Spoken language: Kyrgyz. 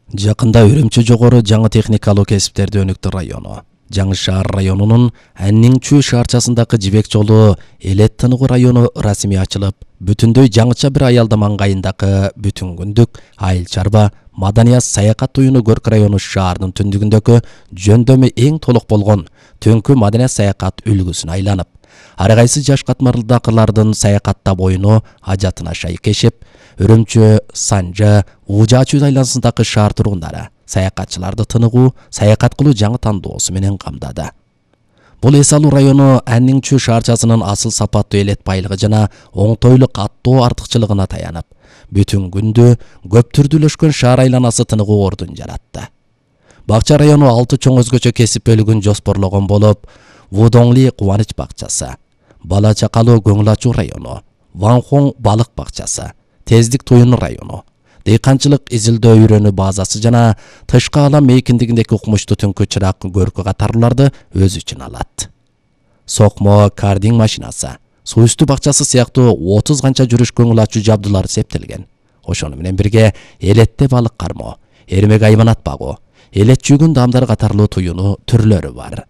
Жакында Үрүмчү жогору жаңы техникалык кесиптерди өнүктүр району, Жаңы шаар районунун Аннingчүү шаарчасындагы жибек жолу Элет Тыныгы району расмий ачылып, бүтүндөй жаңыча бир аялдама ыңгайындагы бүтүн күндүк айыл чарба маданият саякат уюну Көрк району шаарынын түндүгүндөгү жөндөмү эң толук болгон түнкү маданият саякат үлгүсүнө айланып, ар кайсы жаш катмарлдакылардын саякаттап оюну ажатына шайкешип, Үрүмчү, Санжа, Ужачуу айланасындагы шаар тургундары саякатчыларды тыныгуу, саякат кылуу жаңы тандоосу менен камдады. Бул эс алуу району Аннingчүү шаарчасынын асыл сапаттуу элет байлыгы жана оңтойлуу каттоо артыкчылыгына таянып, бүтүн күндү көп түрдүүлөшкөн шаар айланасы тыныгуу ордун жаратты. Бакча району 6 чоң өзгөчө кесип бөлүгүн жоспорлогон болуп, Вудоңли кубаныч бакчасы, Бала Чакалуу көңүл ачуу району, Ванхон балык бакчасы, Тездик Туюну району, Дыйканчылык изилдөө үйрөнүү базасы жана тышкы алам мейкиндигиндеги укмуштуу түнкү чырак көркү катарларды өз үчүн алат. Сокмо кардинг машинасы, суу үстү бакчасы сыяктуу 30 канча жүрүш көңүл ачуу жабдуулар септелген. Ошону менен бирге элетте балык кармоо, эрмек айванат багуу, элет жүгүн дамдар катарлуу туюну түрлөрү бар.